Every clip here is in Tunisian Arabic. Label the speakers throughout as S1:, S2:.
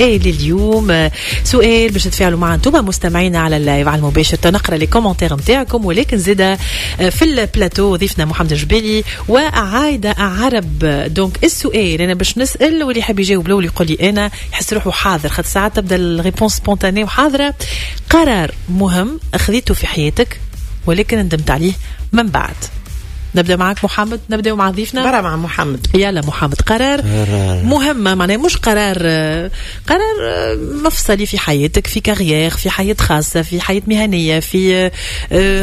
S1: لليوم سؤال باش تتفاعلوا معنا انتم مستمعينا على ال live على المباشر، تنقرا les commentaires نتاعكم، ولكن زاده في البلاتو ضيفنا محمد الجبالي وعايده عرب. donc السؤال انا باش نسال، واللي يحب يجاوب الاول يقول لي انا، يحس روحه حاضر، خاطر ساعات تبدا ال réponse spontanée وحاضره. قرار مهم اخذته في حياتك ولكن ندمت عليه من بعد. نبدا معك محمد، نبدا مع ضيفنا.
S2: برا مع محمد.
S1: يلا محمد، قرار مهم، معناها مش قرار، قرار مفصلي في حياتك، في carrière، في حياة خاصة، في حياة مهنية، في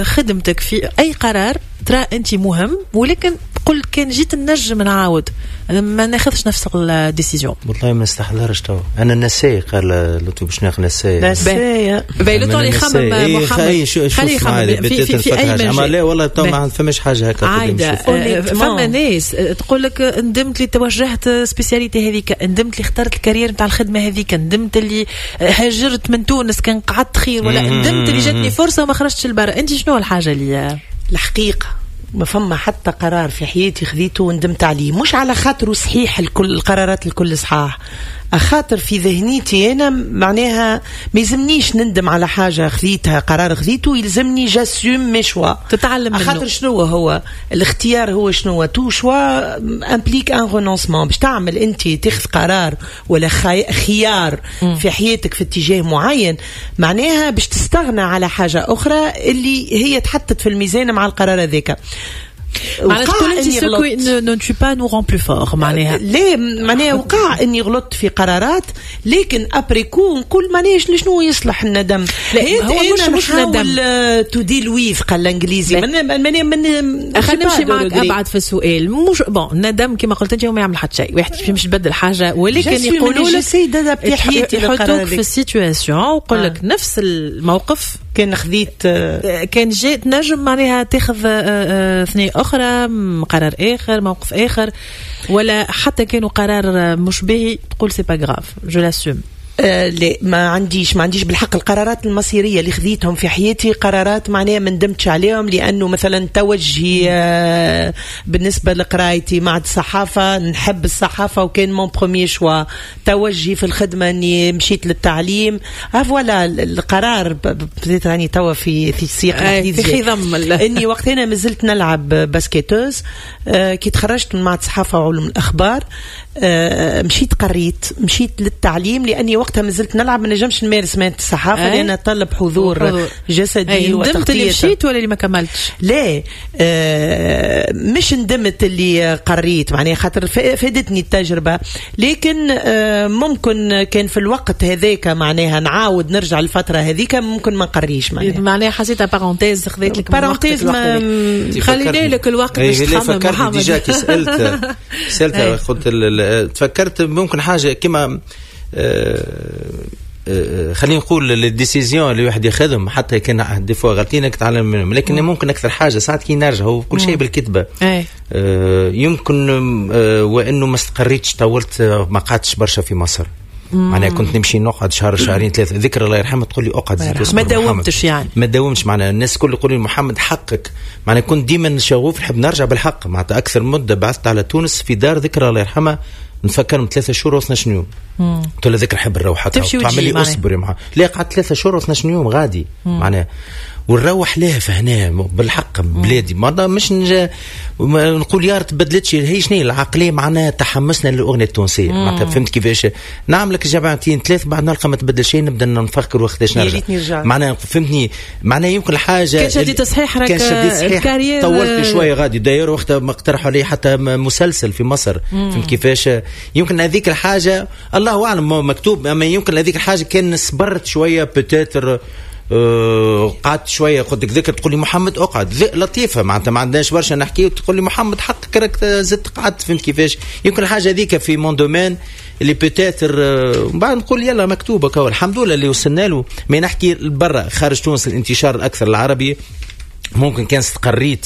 S1: خدمتك، في أي قرار ترى أنت مهم ولكن قل كان جيت نجم نعاود ما ناخذش نفس ال décision.
S3: والله ما نستحضرش تو، انا نساي، قال لطفي باش ناخذ نساي.
S2: نساي.
S1: باهي، لو يخمم محمد،
S3: خليه يخمم في اي مجال. لا والله تو ما فماش حاجة هكا.
S1: عايده، فما ناس تقول لك ندمت اللي توجهت spécialité هذيك، ندمت اللي اخترت ال carrière نتاع الخدمة هذيك، ندمت اللي هاجرت من تونس كان قعدت خير، ولا ندمت اللي جاتني فرصة وما خرجتش لبرا. انت شنو الحاجة اللي
S2: الحقيقة ما فما حتى قرار في حياتي خذيته وندمت عليه، مش على خاطره صحيح، الكل القرارات الكل صحاح، خاطر في ذهنيتي انا معناها ما يلزمنيش نندم على حاجة خذيتها، قرار خذيته يلزمني j'assume mes choix.
S1: تتعلم منه.
S2: خاطر شنو هو الاختيار؟ هو شنو؟ tout choix implique un renoncement. باش تعمل انت تاخذ قرار ولا خيار في حياتك في اتجاه معين، معناها باش تستغنى على حاجة اخرى اللي هي تحطت في الميزان مع القرار هذاك.
S1: معناها تقول انت ce qui ne tue pas nous rend plus forts معناها.
S2: لا، معناها وقع اني غلطت في قرارات، لكن après coup نقول معناها شنو يصلح الندم؟
S1: لا، هو مش ندم.
S2: to deal with قال الانجليزي معناها من
S1: خلينا نمشي معك ابعد في السؤال. مش bon ندم كما قلت انت هو ما يعمل حتى شيء، واحد مش يبدل حاجه، ولكن يقولوا لك
S2: حياتي
S1: يحطوك في ال situation ويقول لك نفس الموقف
S2: كان خذيت
S1: كان جيت نجم معناها تاخذ ثنية اخرى، قرار اخر، موقف اخر، ولا حتى كانوا قرار مش باهي تقول c'est pas grave، je l'assume؟
S2: لا، ما عنديش بالحق. القرارات المصيريه اللي خذيتهم في حياتي قرارات معناها ما ندمتش عليهم، لانه مثلا توجهي بالنسبة لقرايتي مع الصحافه، نحب الصحافة وكان mon premier choix. توجهي في الخدمة اني مشيت للتعليم. Voilà القرار بديت راني توا في سياق
S1: الحديث في خضم
S2: اني وقت انا مازلت نلعب basketteuse، كي تخرجت من معهد الصحافة وعلوم الاخبار مشيت قريت، مشيت للتعليم، لاني وقتها مازلت نلعب ما نجمش نمارس مهنة الصحافة لان طلب حضور جسدي.
S1: ندمت اللي مشيت ولا اللي ما كملتش؟
S2: لا، مش ندمت اللي قريت، معناها خاطر فادتني التجربه، لكن ممكن كان في الوقت هذاك معناها نعاود نرجع للفترة هذيك ممكن ما نقريش.
S1: معناها حسيتها parenthèse خذيت لك
S2: parenthèse.
S1: ما خلينا لك الوقت باش تخمم.
S3: محمد، déjà كي سالت قلت تفكرت ممكن حاجة كما خلينا نقول les décisions اللي الواحد ياخذهم حتى كان des fois غلطين تتعلم منهم، لكن ممكن اكثر حاجة ساعات كي نرجع هو كل شيء بالكتبه يمكن وانه ما استقريتش، طولت ما قعدتش برشا في مصر. معناها كنت نمشي نقعد شهر، شهرين، ثلاثه. ذكرى الله يرحمها تقول لي اقعد
S1: زيد. ما داومتش يعني.
S3: ما داومتش. معناها الناس الكل يقولوا لي محمد حقك. معناها كنت ديما شغوف نحب نرجع بالحق. معناتها اكثر مده بعثت على تونس في دار ذكرى الله يرحمها نفكرهم 3 شهور و12 يوم. قلت لها ذكرى نحب نروح.
S1: تمشي.
S3: تعمل لي اصبري معها. لا، قعدت 3 شهور و12 يوم غادي معناها ونروح لها فهنا بالحق بلادي ما مش نقول يا تبدلتش هي شنو العقليه، معناها تحمسنا للاغنية التونسيه. معناتها فهمت كيفاش؟ نعمل لك جمعتين ثلاث بعد نلقى ما تبدل شيء، نبدا نفكر وقتاش نرجع. معناها فهمتني؟ معناها يمكن الحاجة
S1: كان شديت صحيح
S3: راك كان شديت صحيح طولت شوية غادي. d'ailleurs وقتها ما اقترحوا لي حتى مسلسل في مصر. فهمت كيفاش؟ يمكن هذيك الحاجه، الله اعلم مكتوب، اما يمكن هذيك الحاجة كان صبرت شوية peut-être قعدت شويه. قلت لك ذكر تقول لي محمد اقعد، لطيفة معناتها ما عندناش برشا نحكي، وتقول لي محمد حقك راك زدت قعدت. فهمت كيفاش؟ يمكن الحاجة هذيك في mon domaine اللي peut-être من بعد نقول يلا مكتوبه. الحمد لله اللي وصلنا له. ما نحكي برا خارج تونس، الانتشار الاكثر العربي، ممكن كان استقريت.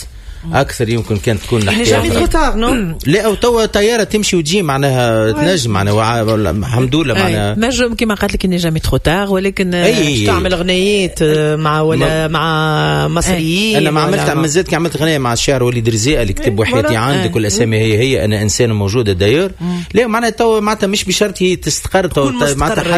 S3: اكثر يمكن كانت تكون
S2: الحكاية jamais trop tard، non؟
S3: لا، او توا طيارة تمشي وتجي، معناها تنجم، معناها الحمد لله معناها.
S1: نجم كما قالت لك n'est jamais trop tard، ولكن
S2: أي تعمل غنيات مع ولا مع مصريين.
S3: انا ما عملت، مازلت كي عملت غنية مع الشاعر وليد رزيقه اللي كتب وحياتي عندك، والاسامي هي هي، انا انسان موجودة d'ailleurs. لا، معناها تو معناتها مش بشرط هي تستقر تو معناتها.